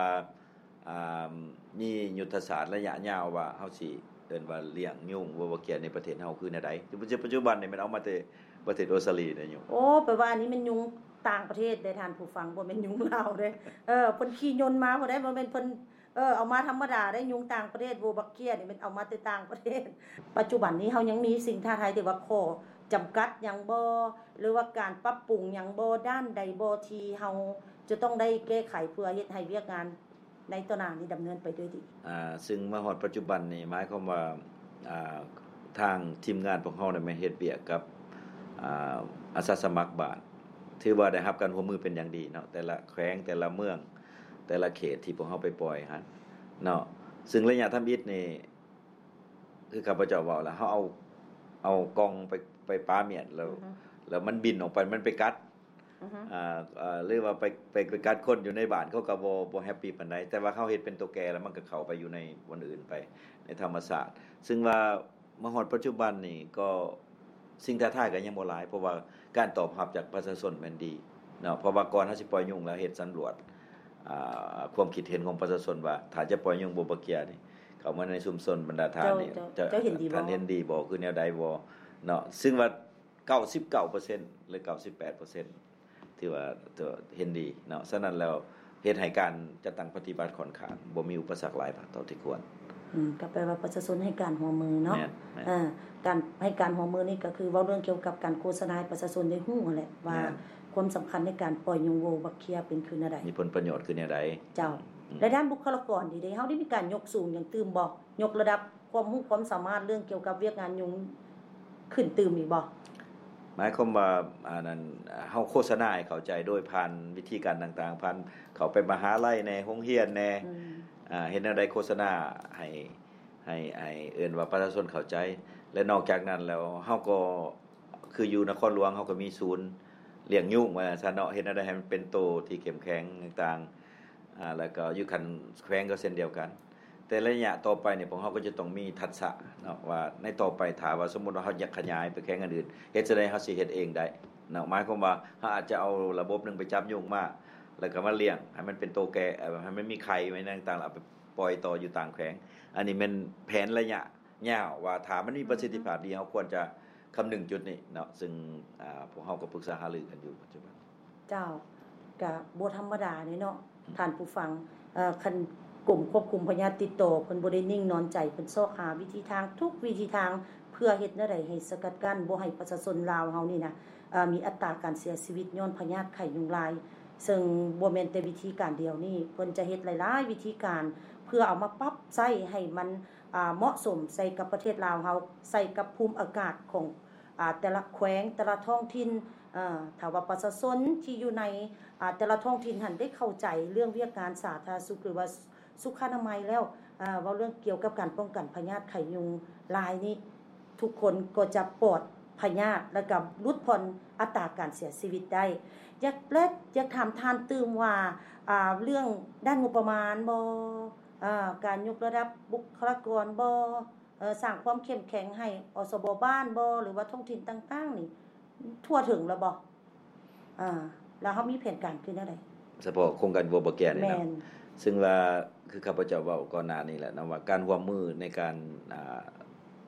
ອ່າ ມີຍຸດທະສາດໄລຍະຍາວວ່າເຮົາຊິເອີ້ນວ່າລ້ຽງຍຸງເວີບາເກຍໃນປະເທດເຮົາຄືແນວໃດ? ປັດຈຸບັນນີ້ແມ່ນເອົາມາແຕ່ປະເທດອົດສະຕາລີໄດ໋ຍຸງ. ໂອ້ ແປວ່າອັນນີ້ແມ່ນຍຸງຕ່າງປະເທດເດ້ທ່ານຜູ້ຟັງ ບໍ່ແມ່ນຍຸງລາວເດ້. ເອີ ເພິ່ນຂີ່ຍົນມາພຸ້ນເດ້ ບໍ່ແມ່ນເພິ່ນ ເອີ ເອົາມາທຳມະດາເດ້. ຍຸງຕ່າງປະເທດ ເວີບາເກຍນີ້ແມ່ນເອົາມາແຕ່ຕ່າງປະເທດ. ປັດຈຸບັນນີ້ເຮົາຍັງມີສິ່ງທ້າທາຍທີ່ວ່າຂໍ້ຈຳກັດຫຍັງບໍ່ ຫຼືວ່າການປັບປຸງຫຍັງບໍ່ ດ້ານໃດບໍ່ ທີ່ເຮົາຈະຕ້ອງໄດ້ແກ້ໄຂເພື່ອເຮັດໃຫ້ວຽກງານ ໃນຕໍ່ໜ້ານີ້ດຳເນີນໄປດ້ວຍດີ. ອ່າ ຊຶ່ງມາຮອດປັດຈຸບັນນີ້ ໝາຍຄວາມວ່າ ອ່າ ທາງທີມງານພວກເຮົາໄດ້ມາເຮັດວຽກກັບ ອ່າ ອາສາສະໝັກບ້ານ ຖືວ່າໄດ້ຮັບການຮ່ວມມືເປັນຢ່າງດີເນາະ ແຕ່ລະແຂວງ ແຕ່ລະເມືອງ ແຕ່ລະເຂດທີ່ພວກເຮົາໄປປ່ອຍຫັ້ນເນາະ. ຊຶ່ງໄລຍະທຳອິດນີ້ ຄືຂ້າພະເຈົ້າເວົ້າລະ ເຮົາເອົາ ເອົາກ່ອງໄປ ໄປປາມຽນ ແລ້ວ ແລ້ວມັນບິນອອກໄປ ມັນໄປກັດ ອ່າ ຫຼືວ່າໄປ ໄປ ໄປກັດຄົນຢູ່ໃນບ້ານ ເຂົາກໍບໍ່ ບໍ່ແຮບປີປານໃດ ແຕ່ວ່າເຮົາເຮັດເປັນໂຕແກ່ ແລ້ວມັນກໍເຂົ້າໄປຢູ່ໃນບ່ອນອື່ນໄປ ໃນທຳມະຊາດ. ຊຶ່ງວ່າມາຮອດປັດຈຸບັນນີ້ກໍ ສິ່ງທ້າທາຍກໍຍັງບໍ່ຫຼາຍ ເພາະວ່າການຕອບຮັບຈາກປະຊາຊົນແມ່ນດີເນາະ ເພາະວ່າກ່ອນເຮົາຊິປ່ອຍຍຸງແລ້ວເຮັດສຳຫຼວດ ອ່າ ຄວາມຄິດເຫັນຂອງປະຊາຊົນວ່າ ຖ້າຈະປ່ອຍຍຸງເວີບາເກຍນີ້ ເຂົ້າມາໃນຊຸມຊົນບັນດາທ່ານນີ້ ເຈົ້າ ເຈົ້າ ເຈົ້າເຫັນດີບໍ່ ທ່ານເຫັນດີບໍ່ ຄືແນວໃດບໍ່ເນາະ? ຊຶ່ງວ່າ ເກົ້າສິບເກົ້າເປີເຊັນ ຫຼື ເກົ້າສິບແປດເປີເຊັນ ຖືວ່າເຫັນດີເນາະ. ສະນັ້ນແລ້ວ ເຮັດໃຫ້ການຈັດຕັ້ງປະຕິບັດຂ້ອນຂ້າງບໍ່ມີອຸປະສັກຫຼາຍເທົ່າທີ່ຄວນ. ອືມ ກໍແປວ່າປະຊາຊົນໃຫ້ການຮ່ວມມືເນາະ. ແມ່ນ ແມ່ນ. ເອີ ການໃຫ້ການຮ່ວມມືນີ້ກໍຄືເວົ້າເລື່ອງກ່ຽວກັບການໂຄສະນາໃຫ້ປະຊາຊົນໄດ້ຮູ້ຫັ້ນແຫຼະວ່າ ແມ່ນ ຄວາມສຳຄັນໃນການປ່ອຍຍຸງເວີບາເກຍເປັນຄືແນວໃດ ມີຜົນປະໂຫຍດຄືແນວໃດ. ເຈົ້າ. ອືມ ແລະດ້ານບຸກຄະລາກອນນີ້ເດ້ ເຮົາໄດ້ມີການຍົກສູງຫຍັງຕື່ມບໍ່? ຍົກລະດັບ ຄວາມຮູ້ຄວາມສາມາດເລື່ອງກ່ຽວກັບວຽກງານຍຸງຂຶ້ນຕື່ມອີກບໍ່? ໝາຍຄວາມວ່າ ອັນນັ້ນ ເຮົາໂຄສະນາໃຫ້ເຂົ້າໃຈໂດຍຜ່ານວິທີການຕ່າງໆ ຜ່ານເຂົ້າໄປມະຫາໄລແດ່ ໂຮງຮຽນແດ່ ອືມ ອ່າ ເຮັດແນວໃດໂຄສະນາໃຫ້ ໃຫ້ ໃຫ້ເອີ້ນວ່າປະຊາຊົນເຂົ້າໃຈ ແລະ ນອກຈາກນັ້ນແລ້ວ ເຮົາກໍ ຄືຢູ່ນະຄອນຫຼວງ ເຮົາກໍມີສູນລ້ຽງຍຸງວ່າຊັ້ນເນາະ ເຮັດແນວໃດໃຫ້ມັນເປັນໂຕທີ່ເຂັ້ມແຂງຕ່າງໆ ອ່າ ແລ້ວກໍຢູ່ຂັ້ນແຂວງກໍເຊັ່ນດຽວກັນ. ແຕ່ໄລຍະຕໍ່ໄປນີ້ ພວກເຮົາກໍຈະຕ້ອງມີທັກສະເນາະ ວ່າໃນຕໍ່ໄປ ຖ້າວ່າສົມມຸດວ່າເຮົາຢາກຂະຫຍາຍໄປແຂວງອື່ນໆ ເຮັດຈັ່ງໃດເຮົາຊິເຮັດເອງໄດ້ເນາະ. ໝາຍຄວາມວ່າເຮົາອາດຈະເອົາລະບົບໜຶ່ງໄປຈັບຍຸງມາ ແລ້ວກໍມາລ້ຽງໃຫ້ມັນເປັນໂຕແກ່ ເອີ ໃຫ້ມັນມີໄຂ່ໄວ້ຫຍັງຕ່າງໆ ເອົາໄປປ່ອຍຕໍ່ຢູ່ຕ່າງແຂວງ. ອັນນີ້ແມ່ນແຜນໄລຍະຍາວ ວ່າຖ້າມັນມີປະສິດທິພາບດີ ເຮົາຄວນຈະຄຳນຶງຈຸດນີ້ເນາະ. ຊຶ່ງ ອ່າ ພວກເຮົາກໍປຶກສາຫາລືກັນຢູ່ປັດຈຸບັນ. ເຈົ້າ ກະບໍ່ທຳມະດາເດ້ເນາະ ອືມ ທ່ານຜູ້ຟັງ. ເອີ ຄັນກົມຄວບຄຸມພະຍາດຕິດຕໍ່ ເພິ່ນບໍ່ໄດ້ນິ່ງນອນໃຈ ເພິ່ນຊອກຫາວິທີທາງ ທຸກວິທີທາງ ເພື່ອເຮັດແນວໃດໃຫ້ສະກັດກັ້ນບໍ່ໃຫ້ປະຊາຊົນລາວເຮົານີ້ນະ ເອີ ມີອັດຕາການເສຍຊີວິດຍ້ອນພະຍາດໄຂ້ຍຸງລາຍ. ເຊິ່ງບໍ່ແມ່ນແຕ່ວິທີການດຽວນີ້ ເພິ່ນຈະເຮັດຫຼາຍໆວິທີການ ພ ພື່ອເອົາມາປັບໃຊ້ໃຫ້ມັນ ອ່າ ເໝາະສົມໃສ່ກັບປະເທດລາວເຮົາ ໃສ່ກັບພູມອາກາດຂອງ ອ່າ ແຕ່ລະແຂວງ ແຕ່ລະທ້ອງຖິ່ນ. ເອີ ຖ້າວ່າປະຊາຊົນທີ່ຢູ່ໃນ ອ່າ ແຕ່ລະທ້ອງຖິ່ນຫັ້ນໄດ້ເຂົ້າໃຈເລື່ອງວຽກງານສາທາລະນະສຸກ ຫຼືວ່າສຸຂະອະນາໄມແລ້ວ ເວົ້າເລື່ອງກ່ຽວກັບການປ້ອງກັນພະຍາດໄຂ້ຍຸງລາຍນີ້ ທຸກຄົນກໍຈະປອດພະຍາດ ແລ້ວກໍຫຼຸດຜ່ອນອັດຕາການເສຍຊີວິດໄດ້. ຢາກ ແລະ ຢາກຖາມທ່ານຕື່ມວ່າ ອ່າ ເລື່ອງດ້ານງົບປະມານບໍ? ອ່າ ການຍົກລະດັບບຸກຄະລາກອນບໍ? ເອີ ສ້າງຄວາມເຂັ້ມແຂງໃຫ້ ອສບ ບ້ານບໍ ຫຼືວ່າທ້ອງຖິ່ນຕ່າງໆນີ້ ທົ່ວເຖິງແລ້ວບໍ? ອ່າ ແລ້ວເຮົາມີແຜນການຄືແນວໃດ? ສະເພາະໂຄງການ World Bank ນີ້ເນາະ ແມ່ນ ຊຶ່ງວ່າ ຄືຂ້າພະເຈົ້າເວົ້າກ່ອນໜ້ານີ້ແຫຼະເນາະ ວ່າການຮ່ວມມືໃນການ ອ່າ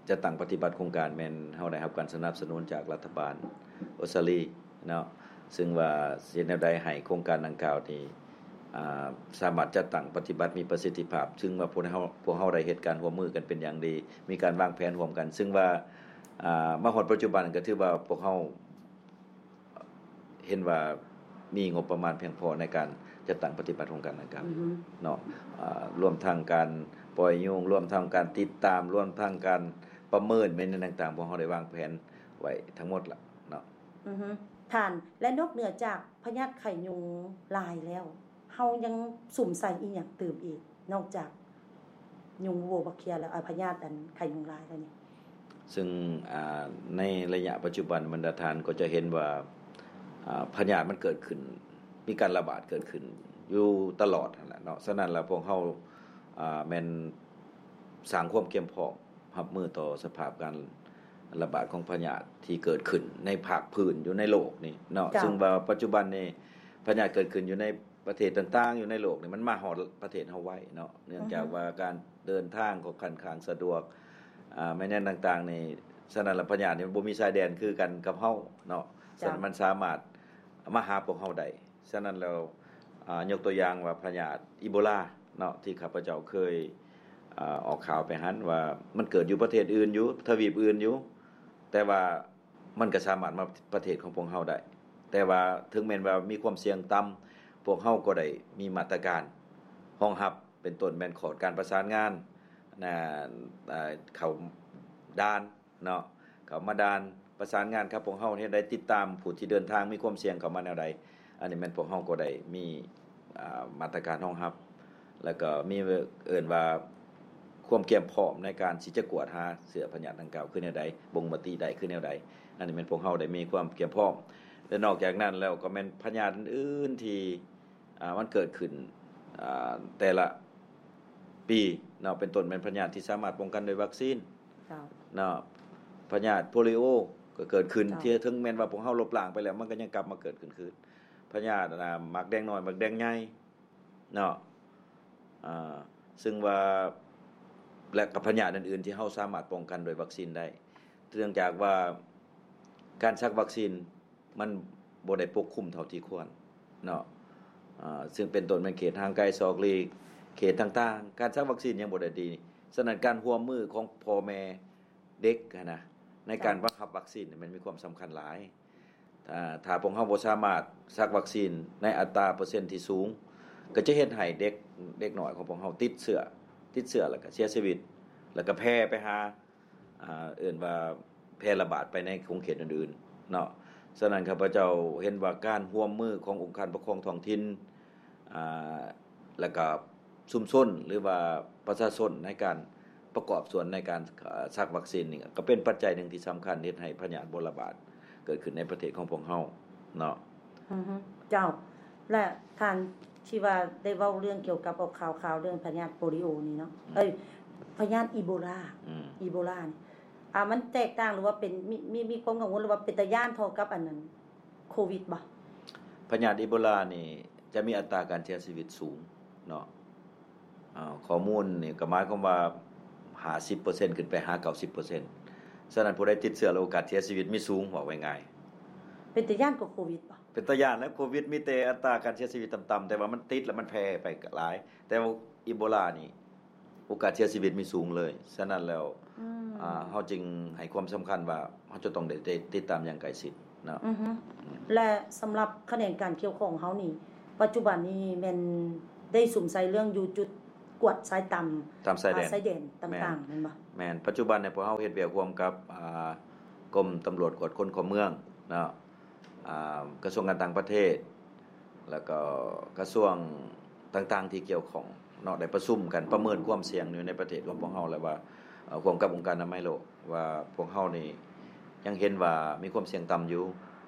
ຈັດຕັ້ງປະຕິບັດໂຄງການ ແມ່ນເຮົາໄດ້ຮັບການສະໜັບສະໜູນຈາກລັດຖະບານອົດສະຕາລີເນາະ ຊຶ່ງວ່າຊິເຮັດແນວໃດໃຫ້ໂຄງການດັ່ງກ່າວນີ້ ອ່າ ສາມາດຈັດຕັ້ງປະຕິບັດມີປະສິດທິພາບ, ຊຶ່ງວ່າພວກເຮົາ ພວກເຮົາໄດ້ເຮັດການຮ່ວມມືກັນເປັນຢ່າງດີ, ມີການວາງແຜນຮ່ວມກັນ, ຊຶ່ງວ່າ ອ່າ ມາຮອດປັດຈຸບັນກໍຖືວ່າພວກເຮົາເຫັນວ່າມີງົບປະມານພຽງພໍໃນການຈັດຕັ້ງປະຕິບັດໂຄງການດັ່ງກ່າວ ອືຮຶ ເນາະ, ອ່າ ລວມທັງການປ່ອຍຍຸງ, ລວມທັງການຕິດຕາມ, ລວມທັງການປະເມີນແມ່ນຫຍັງຕ່າງໆ ພວກເຮົາໄດ້ວາງແຜນໄວ້ທັງໝົດລະເນາະ. ອືຮຶ ທ່ານ ແລະ ນອກເໜືອຈາກພະຍາດໄຂ້ຍຸງລາຍແລ້ວ ເຮົາຍັງສຸມໃສ່ອີ່ຫຍັງຕື່ມອີກ ນອກຈາກຍຸງໂວບັກເຄຍ ແລະ ອາ ພະຍາດອັນໄຂ້ຍຸງລາຍແລ້ວນີ້? ຊຶ່ງ ອ່າ ໃນໄລຍະປັດຈຸບັນ ບັນດາທ່ານກໍຈະເຫັນວ່າ ອ່າ ພະຍາດມັນເກີດຂຶ້ນ ມີການລະບາດເກີດຂຶ້ນຢູ່ຕະຫຼອດຫັ້ນແຫຼະເນາະ, ສະນັ້ນແລ້ວພວກເຮົາ ອ່າ ແມ່ນສ້າງຄວາມກຽມພ້ອມ ຮັບມືຕໍ່ສະພາບການລະບາດຂອງພະຍາດທີ່ເກີດຂຶ້ນໃນພາກພື້ນຢູ່ໃນໂລກນີ້ເນາະ, ເຈົ້າ. ຊຶ່ງວ່າປັດຈຸບັນນີ້ພະຍາດເກີດຂຶ້ນຢູ່ໃນປະເທດຕ່າງໆຢູ່ໃນໂລກນີ້ ມັນມາຮອດປະເທດເຮົາໄວເນາະ, ເນື່ອງຈາກ ອືຮຶ ວ່າການເດີນທາງກໍຄ່ອນຂ້າງສະດວກ ອາ ແມ່ນຫຍັງຕ່າງໆນີ້, ສະນັ້ນລະພະຍາດນີ້ມັນບໍ່ມີຊາຍແດນຄືກັນກັບເຮົາເນາະ, ເຈົ້າ. ສະນັ້ນມັນສາມາດມາຫາພວກເຮົາໄດ້. ສະນັ້ນແລ້ວ ອາ ຍົກຕົວຢ່າງວ່າພະຍາດອີໂບລາເນາະ ທີ່ຂ້າພະເຈົ້າເຄີຍ ອາ ອອກຂ່າວໄປຫັ້ນວ່າ ມັນເກີດຢູ່ປະເທດອື່ນຢູ່ ທະວີບອື່ນຢູ່ ແຕ່ວ່າມັນກໍສາມາດມາປະເທດຂອງພວກເຮົາໄດ້, ແຕ່ວ່າເຖິງແມ່ນວ່າມີຄວາມສ່ຽງຕ່ຳ ພວກເຮົາກໍໄດ້ມີມາດຕະການຮອງຮັບ ເປັນຕົ້ນແມ່ນຂອດການປະສານງານ ນາ ເຂົ້າດ່ານ ເນາະ ເຂົ້າມາດ່ານ ປະສານງານກັບພວກເຮົາເຮັດໃດ ຕິດຕາມຜູ້ທີ່ເດີນທາງມີຄວາມສ່ຽງເຂົ້າມາແນວໃດ, ອັນນີ້ແມ່ນພວກເຮົາກໍໄດ້ມີ ອາ ມາດຕະການຮອງຮັບ ແລ້ວກໍມີ ເອີ້ນວ່າຄວາມກຽມພ້ອມໃນການທີ່ຈະກວດຫາເຊື້ອພະຍາດດັ່ງກ່າວຄືແນວໃດ, ບົ່ງມະຕິໄດ້ຄືແນວໃດ, ອັນນີ້ແມ່ນພວກເຮົາໄດ້ມີຄວາມກຽມພ້ອມ ແລະ ນອກຈາກນັ້ນແລ້ວກໍແມ່ນພະຍາດອື່ນໆທີ່ ອ່າ ມັນເກີດຂຶ້ນ ອ່າ ແຕ່ລະປີເນາະ, ເປັນຕົ້ນແມ່ນພະຍາດທີ່ສາມາດປ້ອງກັນດ້ວຍວັກຊີນ ເຈົ້າ. ເນາະ, ພະຍາດໂປລິໂອກໍເກີດຂຶ້ນ ເຈົ້າ. ທີ່ເຖິງແມ່ນວ່າພວກເຮົາລົບລ້າງໄປແລ້ວ ມັນກໍຍັງກັບມາເກີດຂຶ້ນຄືນ, ພະຍາດ ອ່າ ໝາກແດງນ້ອຍ ໝາກແດງໃຫຍ່ເນາະ, ອ່າ ຊຶ່ງວ່າ ແລະ ກັບພະຍາດອື່ນໆທີ່ເຮົາສາມາດປ້ອງກັນດ້ວຍວັກຊີນໄດ້, ເນື່ອງຈາກວ່າການສັກວັກຊີນ ມັນບໍ່ໄດ້ປົກຄຸມເທົ່າທີ່ຄວນເນາະ, ເຊິ່ງເປັນຕົ້ນແມ່ນເຂດຫ່າງໄກສອກຫຼີກ ເຂດຕ່າງໆ ການສັກວັກຊີນຍັງບໍ່ໄດ້ດີ. ສະນັ້ນ ການຮ່ວມມືຂອງພໍ່ແມ່ເດັກຫັ້ນນະ ໃນການ ເຈົ້າ ມາຮັບວັກຊີນນີ້ ມັນມີຄວາມສຳຄັນຫຼາຍ. ຖ້າ ຖ້າພວກເຮົາບໍ່ສາມາດສັກວັກຊີນໃນອັດຕາເປີເຊັນທີ່ສູງ ກໍຈະເຮັດໃຫ້ເດັກ ເດັກນ້ອຍຂອງພວກເຮົາຕິດເຊື້ອ ຕິດເຊື້ອ ແລ້ວກໍເສຍຊີວິດ ແລ້ວກໍແຜ່ໄປຫາ ອ່າ ເອີ້ນວ່າແຜ່ລະບາດໄປໃນຂົງເຂດອື່ນໆເນາະ. ສະນັ້ນ ຂ້າພະເຈົ້າເຫັນວ່າການຮ່ວມມືຂອງອົງການປົກຄອງທ້ອງຖິ່ນ ອ່າ ແລ້ວກະຊຸມຊົນ ຫຼືວ່າປະຊາຊົນໃນການປະກອບສ່ວນໃນການ ເອີ ສັກວັກຊີນນີ້ ກໍເປັນປັດໄຈໜຶ່ງທີ່ສຳຄັນເຮັດໃຫ້ພະຍາດບໍ່ລະບາດເກີດຂຶ້ນໃນປະເທດຂອງພວກເຮົາເນາະ. ອືຮຶ ເຈົ້າ. ແລະ ທ່ານທີ່ວ່າໄດ້ເວົ້າເລື່ອງກ່ຽວກັບອອກຂ່າວ ຂ່າວເລື່ອງພະຍາດໂປລິໂອນີ້ເນາະ ອືມ ເອີຍ ພະຍາດອີໂບລາ ອືມ ອີໂບລານີ້ ອ່າ ມັນແຕກຕ່າງ ຫຼືວ່າເປັນ ມີ ມີ ມີຄວາມກັງວົນ ຫຼືວ່າເປັນຕາຢ້ານເທົ່າກັບອັນນັ້ນ ໂຄວິດບໍ່? ພະຍາດອີໂບລານີ້ຈະມີອັດຕາການເສຍຊີວິດສູງເນາະ. ເອີ ຂໍ້ມູນນີ້ກໍໝາຍຄວາມວ່າ ຫ້າສິບເປີເຊັນ ຂຶ້ນໄປຫາ ເກົ້າສິບເປີເຊັນ. ສະນັ້ນ ຜູ້ໃດຕິດເຊື້ອແລ້ວໂອກາດເສຍຊີວິດມີສູງ ເວົ້າງ່າຍໆ. ເປັນຕາຢ້ານກວ່າໂຄວິດບໍ່? ເປັນຕາຢ້ານແຫຼະ, ໂຄວິດມີແຕ່ອັດຕາການເສຍຊີວິດຕ່ຳໆ ແຕ່ວ່າມັນຕິດແລ້ວມັນແຜ່ໄປຫຼາຍ, ແຕ່ວ່າອີໂບລານີ້ ໂອກາດເສຍຊີວິດມີສູງເລີຍ. ສະນັ້ນແລ້ວ ອືມ ອ່າ ເຮົາຈຶ່ງໃຫ້ຄວາມສຳຄັນວ່າ ເຮົາຈະຕ້ອງໄດ້ ໄດ້ຕິດຕາມຢ່າງໃກ້ຊິດເນາະ. ອືຮຶ ອືມ ແລະ ສຳລັບຂະແໜງການກ່ຽວຂ້ອງເຮົານີ້ ປັດຈຸບັນນີ້ແມ່ນໄດ້ສຸມໃສ່ເລື່ອງຢູ່ຈຸດ ກວດຊາຍຕາມ ຕາມຊາຍແດນ ອາ ຊາຍແດນຕ່າງໆ ແມ່ນ ແມ່ນບໍ່? ແມ່ນ. ປັດຈຸບັນນີ້ພວກເຮົາເຮັດວຽກຮ່ວມກັບ ອາ ກົມຕຳຫຼວດກວດຄົນເຂົ້າເມືອງເນາະ ອາ ກະຊວງການຕ່າງປະເທດ ແລ້ວກໍກະຊວງຕ່າງໆທີ່ກ່ຽວຂ້ອງເນາະ ໄດ້ປະຊຸມກັນປະເມີນຄວາມສ່ຽງຢູ່ໃນປະເທດຂອງພວກເຮົາ ແລະວ່າ ເອີ ຮ່ວມກັບອົງການອະນາໄມໂລກ ວ່າພວກເຮົານີ້ຍັງເຫັນວ່າມີຄວາມສ່ຽງຕ່ຳຢູ່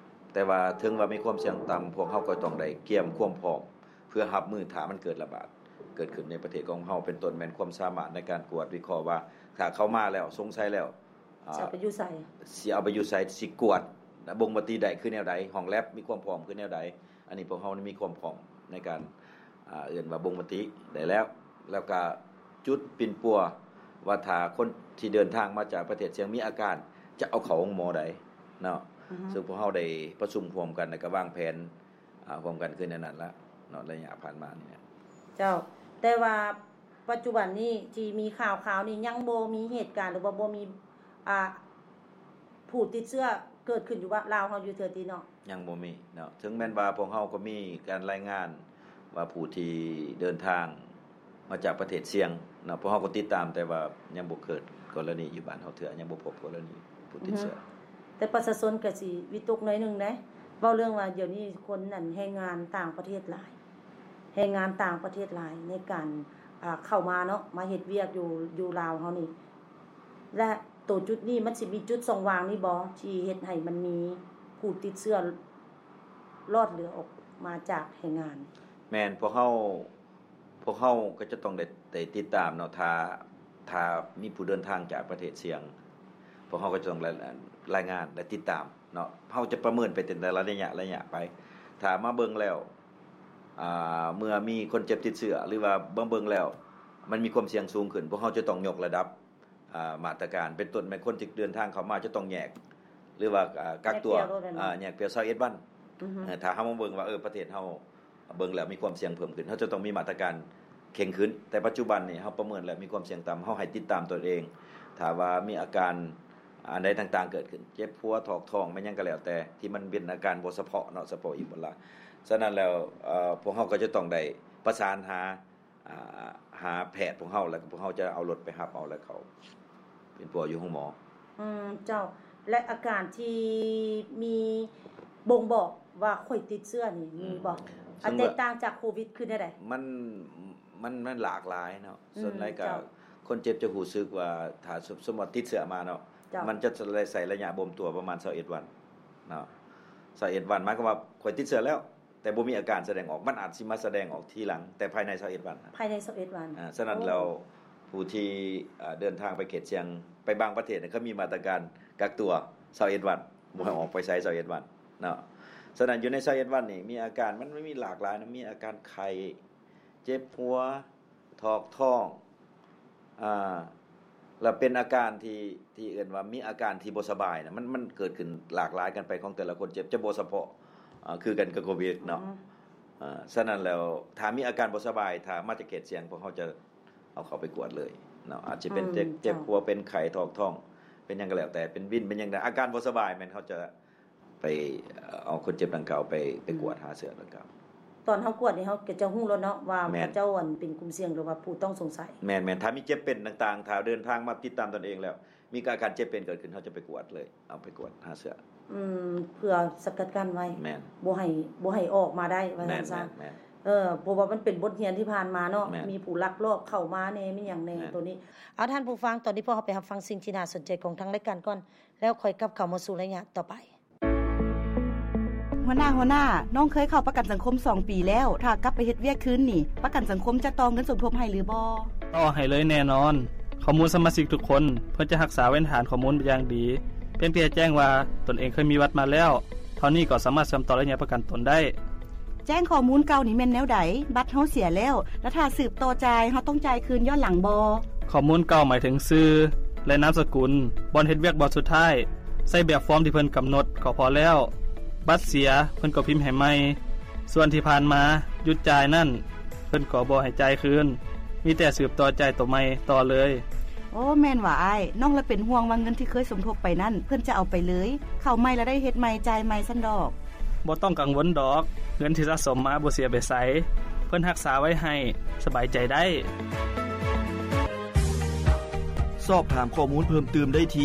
ແຕ່ວ່າເຖິງວ່າມີຄວາມສ່ຽງຕ່ຳ ພວກເຮົາກໍຕ້ອງໄດ້ກຽມຄວາມພ້ອມ ເພື່ອຮັບມືຖ້າມັນເກີດລະບາດເກີດຂຶ້ນໃນປະເທດຂອງເຮົາ ເປັນຕົ້ນແມ່ນຄວາມສາມາດໃນການກວດວິເຄາະວ່າ ຖ້າເຂົ້າມາແລ້ວສົງໄສແລ້ວ ອາ ຊິເອົາໄປຢູ່ໃສ ຊິເອົາໄປຢູ່ໃບົ່ ຊິກວດບົ່ງມະຕິໄດ້ຄືແນວໃດ ຫ້ອງແລັບມີຄວາມພ້ອມຄືແນວໃດ. ອັນນີ້ພວກເຮົາມີຄວາມພ້ອມໃນການ ອາ ເອີ້ນວ່າບົ່ງມະຕິໄດ້ແລ້ວ ແລ້ວກະຈຸດປິ່ນປົວວ່າຖ້າຄົນທີ່ເດີນທາງມາຈາກປະເທດສ່ຽງມີອາການ ຈະເອົາເຂົ້າໂຮງໝໍໃດເນາະ ອືຮຶ ຊຶ່ງພວກເຮົາໄດ້ປະຊຸມຮ່ວມກັນ ແລ້ວກະວາງແຜນ ອາ ຮ່ວມກັນຄືແນວນັ້ນລະເນາະ ໄລຍະຜ່ານມານີ້ນະ. ເຈົ້າ ແຕ່ວ່າປັດຈຸບັນນີ້ທີ່ມີຂ່າວໆນີ້ ຍັງບໍ່ມີເຫດການ ຫຼືວ່າບໍ່ມີ ອາ ຜູ້ຕິດເຊື້ອເກີດຂຶ້ນຢູ່ລາວເຮົາຢູ່ເທື່ອຕິເນາະ? ຍັງບໍ່ມີເນາະ ເຖິງແມ່ນວ່າພວກເຮົາກໍມີການລາຍງານວ່າຜູ້ທີ່ເດີນທາງ ມາຈາກປະເທດສ່ຽງເນາະ ພວກເຮົາກໍຕິດຕາມ ແຕ່ວ່າຍັງບໍ່ເກີດກໍລະນີຢູ່ບ້ານເຮົາເທື່ອ ຍັງບໍ່ພົບກໍລະນີຜູ້ຕິດເຊື້ອ. ອືຮຶ ແຕ່ປະຊາຊົນກໍຊິວິຕົກໜ້ອຍໜຶ່ງເດ້ ເວົ້າເລື່ອງວ່າດຽວນີ້ຄົນນັ້ນແຮງງານຕ່າງປະເທດຫຼາຍ ແຮງງານຕ່າງປະເທດຫຼາຍໃນການ ອາ ເຂົ້າມາເນາະ ມາເຮັດວຽກຢູ່ ຢູ່ລາວເຮົານີ້ ແລະ ໂຕຈຸດນີ້ມັນຊິມີຈຸດຊ່ອງວ່າງນີ້ບໍ່ ທີ່ເຮັດໃຫ້ມັນມີຜູ້ຕິດເຊື້ອລອດເຫຼືອອອກມາຈາກແຮງງານ? ແມ່ນ ພວກເຮົາ ພວກເຮົາກໍຈະຕ້ອງໄດ້ ໄດ້ຕິດຕາມເນາະ ຖ້າ ຖ້າມີຜູ້ເດີນທາງຈາກປະເທດສ່ຽງ ພວກເຮົາກໍຈະຕ້ອງລາຍ ລາຍງານ ແລະ ຕິດຕາມເນາະ ເຮົາຈະປະເມີນໄປເປັນແຕ່ລະໄລຍະ ໄລຍະໄປ ຖ້າມາເບິ່ງແລ້ວ ອາ ເມື່ອມີຄົນເຈັບຕິດເຊື້ອ ຫຼືວ່າມາເບິ່ງແລ້ວມັນມີຄວາມສ່ຽງສູງຂຶ້ນ ພວກເຮົາຈະຕ້ອງຍົກລະດັບ ອາ ມາດຕະການ ເປັນຕົ້ນແມ່ນຄົນທີ່ເດີນທາງເຂົ້າມາຈະຕ້ອງແຍກ ຫຼືວ່າ ອາ ກັກຕົວ ແຍກເປັນ ອາ ແຍກເປັນຊາວເອັດວັນ ອືຮຶ ເອີ ຖ້າເຮົາມາເບິ່ງວ່າ ເອີ ປະເທດເຮົາ ເບິ່ງແລ້ວມີຄວາມສ່ຽງເພີ່ມຂຶ້ນ ເຮົາຈະຕ້ອງມີມາດຕະການເຄັ່ງຂຶ້ນ ແຕ່ປັດຈຸບັນນີ້ເຮົາປະເມີນແລ້ວມີຄວາມສ່ຽງຕ່ຳ ເຮົາໃຫ້ຕິດຕາມຕົນເອງ ຖ້າວ່າມີອາການອັນໃດຕ່າງໆເກີດຂຶ້ນ ເຈັບຫົວ ຖອກທ້ອງ ແມ່ນຫຍັງກໍແລ້ວແຕ່ ທີ່ມັນເປັນອາການບໍ່ສະເພາະເນາະ ສະເພາະອີໂບລາ ສະນັ້ນແລ້ວ ເອີ ພວກເຮົາກໍຈະຕ້ອງໄດ້ປະສານຫາ ອາ ຫາແພດພວກເຮົາ ແລ້ວກໍພວກເຮົາຈະເອົາລົດໄປຮັບເອົາ ແລ້ວເຂົາເປັນປົວຢູ່ໂຮງໝໍ. ອືມ ເຈົ້າ ແລະ ອາການທີ່ມີບົ່ງບອກວ່າຂ້ອຍຕິດເຊື້ອນີ້ມີບໍ່? ອືມ ອັນແຕກຕ່າງຈາກໂຄວິດຄືແນວໃດ? ມັນ ມັນ ມັນຫຼາກຫຼາຍເນາະ ອືມ ສ່ວນຫຼາຍກໍ ເຈົ້າ ຄົນເຈັບຈະຮູ້ສຶກວ່າ ຖ້າສົມ ສົມມຸດຕິດເຊື້ອມາເນາະ ເຈົ້າ ມັນຈະໃຊ້ໄລຍະບົ່ມຕົວປະມານຊາວເອັດວັນເນາະ ຊາວເອັດວັນ ໝາຍຄວາມວ່າຂ້ອຍຕິດເຊື້ອແລ້ວ ແຕ່ບໍ່ມີອາການສະແດງອອກ ມັນອາດຊິມາສະແດງອອກທີຫຼັງ ແຕ່ພາຍໃນຊາວເອັດວັນ ພາຍໃນຊາວເອັດວັນ ອາ ສະນັ້ນແລ້ວ ໂອ້ ຜູ້ທີ່ ເດີນທາງໄປເຂດສ່ຽງ ໄປບາງປະເທດ ເຂົາມີມາດຕະການກັກຕົວຊາວເອັດວັນ ບໍ່ໃຫ້ອອກໄປໃສຊາວເອັດວັນເນາະ ສະນັ້ນຢູ່ໃນຊາວເອັດວັນນີ້ ມີອາການ ມັນມີຫຼາກຫຼາຍນະ ມີອາການໄຂ້ ເຈັບຫົວ ຖອກທ້ອງ ອາ ແລ້ວເປັນອາການທີ່ ທີ່ເອີ້ນວ່າມີອາການທີ່ບໍ່ສະບາຍນະ ມັນ ມັນເກີດຂຶ້ນຫຼາກຫຼາຍກັນໄປ ຂອງແຕ່ລະຄົນເຈັບ ຈະບໍ່ສະເພາະ ອາ ຄືກັນກັບໂຄວິດເນາະ ອືມ ອາ ສະນັ້ນແລ້ວ ຖ້າມີອາການບໍ່ສະບາຍ ຖ້າມາຈາກເຂດສ່ຽງ ພວກເຮົາຈະເອົາເຂົ້າໄປກວດເລີຍເນາະ ອາດຈະເປັນ ອືມ ເຈັບ ເຈັບຫົວ ເປັນໄຂ້ ຖອກທ້ອງ ເປັນຫຍັງກໍແລ້ວແຕ່ ເປັນວິນ ເປັນຫຍັງ ອາການບໍ່ສະບາຍ ແມ່ນເຮົາຈະ ໄປເອົາຄົນເຈັບດັ່ງກ່າວໄປ ໄປກວດຫາເຊື້ອດັ່ງກ່າວ ຕອນເຮົາກວດນີ້ ເຮົາກໍຈະຮູ້ແລ້ວເນາະວ່າ ແມ່ນ ເຂົາເຈົ້າ ອັນ ເປັນກຸ່ມສ່ຽງ ຫຼືວ່າຜູ້ຕ້ອງສົງໄສ ແມ່ນໆ ຖ້າມີເຈັບເປັນຕ່າງໆ ຖ້າເດີນທາງມາຕິດຕາມຕົນເອງແລ້ວ ມີອາການເຈັບເປັນເກີດຂຶ້ນ ເຮົາຈະໄປກວດເລີຍ ເອົາໄປກວດຫາເຊື້ອ ອືມ ເພື່ອສະກັດກັ້ນໄວ້ ແມ່ນ ບໍ່ໃຫ້ ບໍ່ໃຫ້ອອກມາໄດ້ວ່າຊັ້ນຊະ ແມ່ນໆ ເອີ ເພາະວ່າມັນເປັນບົດຮຽນທີ່ຜ່ານມາເນາະ ແມ່ນ ມີຜູ້ລັກລອບເຂົ້າມາແດ່ ມີຫຍັງແດ່ ແມ່ນ ໂຕນີ້ ເອົາ ທ່ານຜູ້ຟັງ ຕອນນີ້ພວກເຮົາໄປຮັບຟັງສິ່ງທີ່ໜ້າສົນໃຈຂອງທາງລາຍການກ່ອນ ແລ້ວຄ່ອຍກັບເຂົ້າມາສູ່ໄລຍະຕໍ່ໄປ. ຫົວໜ້າ, ຫົວໜ້າ, ນ້ອງເຄີຍເຂົ້າປະກັນສັງຄົມສອງປີແລ້ວ, ຖ້າກັບໄປເຮັດວຽກຄືນນີ້, ປະກັນສັງຄົມຈະຕໍ່ເງິນສົມທົບໃຫ້ຫຼືບໍ່? ຕໍ່ໃຫ້ເລີຍແນ່ນອນ. ຂໍ້ມູນສະມາຊິກທຸກຄົນ, ເພິ່ນຈະຮັກສາເປັນຖານຂໍ້ມູນຢ່າງດີ. ພຽງແຕ່ແຈ້ງວ່າຕົນເອງເຄີຍມີບັດມາແລ້ວ, ເທົ່ານີ້ກໍສາມາດເຊື່ອມຕໍ່ໄລຍະປະກັນຕົນໄດ້. ແຈ້ງຂໍ້ມູນເກົ່ານີ້ແມ່ນແນວໃດ? ບັດເຮົາເສຍແລ້ວ, ແລ້ວຖ້າສືບຕໍ່ຈ່າຍ, ເຮົາຕ້ອງຈ່າຍຄືນຍ້ອນຫຼັງບໍ່? ຂໍ້ມູນເກົ່າໝາຍເຖິງຊື່ ແລະ ນາມສະກຸນ, ບ່ອນເຮັດວຽກບ່ອນສຸດທ້າຍ, ໃຊ້ແບບຟອມທີ່ເພິ່ນກຳນົດກໍພໍແລ້ວ. ບັດເສຍ, ເພິ່ນກໍພິມໃຫ້ໃໝ່. ສ່ວນທີ່ຜ່ານມາຢຸດຈ່າຍນັ້ນ, ເພິ່ນກໍບໍ່ໃຫ້ຈ່າຍຄືນ, ມີແຕ່ສືບຕໍ່ຈ່າຍໂຕໃໝ່ຕໍ່ເລີຍ. ໂອ້, ແມ່ນຫວາອ້າຍ. ນ້ອງລະເປັນຫ່ວງວ່າເງິນທີ່ເຄີຍສົມທົບໄປນັ້ນ, ເພິ່ນຈະເອົາໄປເລີຍ. ເຂົ້າໃໝ່ລະໄດ້ເຮັດໃໝ່, ຈ່າຍໃໝ່ຊັ້ນດອກ. ບໍ່ຕ້ອງກັງວົນດອກ, ເງິນທີ່ສະສົມມາບໍ່ເສຍໄປໃສ, ເພິ່ນຮັກສາໄວ້ໃຫ້, ສະບາຍໃຈໄດ້. ສອບຖາມຂໍ້ມູນເພີ່ມຕື່ມໄດ້ທີ່